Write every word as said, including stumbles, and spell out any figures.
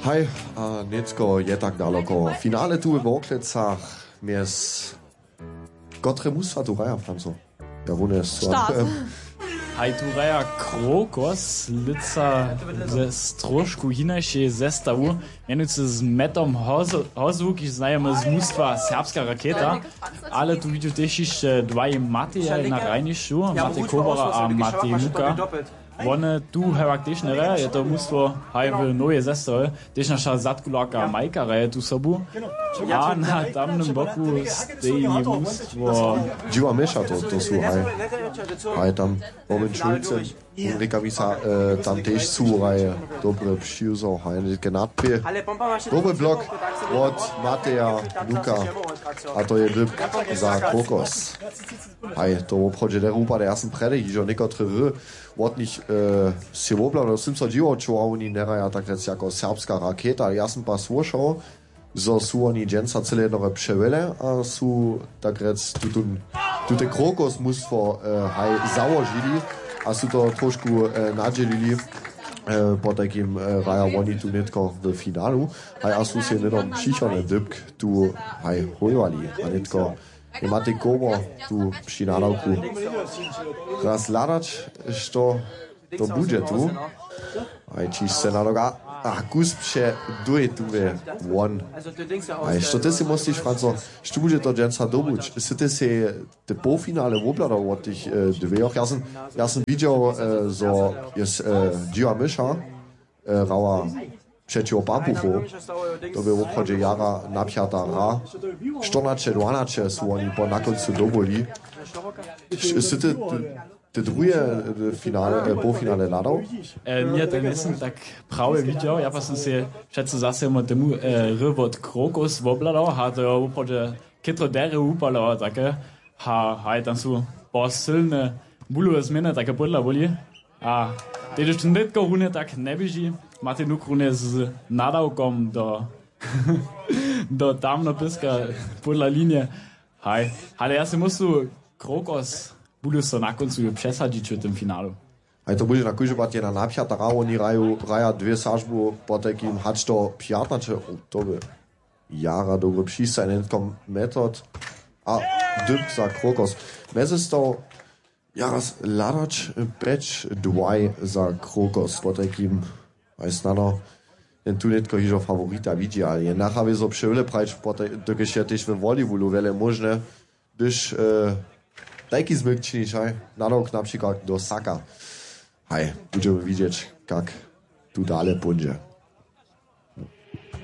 Haj, a nětko je tak daloko. Finale tu w Worklecach mjez kotre mustwa tu hraja, Franco? Ja, wone su. Start. Haj, tu hraja Krokos, lětsa ze trošku hinašej zestawu, mjenujcy z Metom Hozu, Hozu, kiž znajemy z mustwa Serbska Raketa, ale tu widźu tež hišće dwaj Matejaj na hrajnišću, Matej Kobara a Matej Nuka. Wone tu hewak tež njereja, je to mustwo haj w nowej zestawy, tež naša zadkularka Majka hraje tu sobu. A na tamnym boku steji mustwo. Dźiwa Měša, to, to su haj. Haj tam Roman Šulce. Rěka mi sa, e, tam tež su haj dobre přiwzał, haj nětke nadpě. Dobry blok wot Mateja Nuka. A to je dypk za Krokos. Haj, to woprawdźe derje wupady. Ja sam prjedy hižo někotre hry wot nich, e, sej wobhladał, sym so dźiwał, čoła woni nehraja tak rjec jako Serbska Raketa, ale ja sam pak słyšał, zo su woni dźensa cyle jednore přewjele a su tak rjec tutón, tute Krokos mustwo, e, haj załožili a su to trošku, e, nadźělili, e, potajkim, e, hraja woni tu nětko w finalu, haj a su sej hnydom přichodny dypk tu haj hójwali a nětko je Matej Kobo tu při nadawku. Raz hladać, što to budźe tu. Haj, čiž se nadoga. A kus pře duje tu je won. Haj, što ty sej mysliš, Franco? Što budźe to dźensa dobuć? Sy ty sej te połfinale wobhladał wot tych, e, dwejoch? Ja sam, ja sam widźał, e, zo je, e, Dźiwa Myša, e, hrała přećiwo Papuchow. To bě woprawdźe jara napjata hra. Štyrnaće dwanaće su woni po na kóncu dobyli. Š-, sy ty, ty, ty druhe, e, finale, e, połfinale hladał? E, ně, to njejsym tak prawje widźał. Ja pa sym sej přeco zase mó temu, e, hry wot Krokus wobhladał. Ha, to je woprawdźe chytro derje wupalował, take. Ha, haj, tam su po sylne bulowe změny, take podla boli. A tež to nětko runje tak njeběži. Matej Nuk runje z nadawkom do, do tamnopyska podla linije. Haj, ale ja sej myslu, Krokos budu so na kóncu přesadźić w tym finalu. Haj, to budźe na kóždy pad jedna napjata hra, woni hraju, hraja dwě sažbu, potajkim hač do pjatnaće, o, to by jara dobry přistajnjenkom metod a dypk za Krokos. Mjezestał jara hladać, pjeć dwaj za Krokos, potajkim haj snano jen tu nětko hižo faworita widźi, ale je nachawě zo přewjele prajić, potaj-, dokelž je tež we volleybolu wjele móžne, hdyž, e, tajki zmyk činiš, haj, nadawk na přikład do Saka. Haj, budźemy widźeć, kak tu dale póńdźe.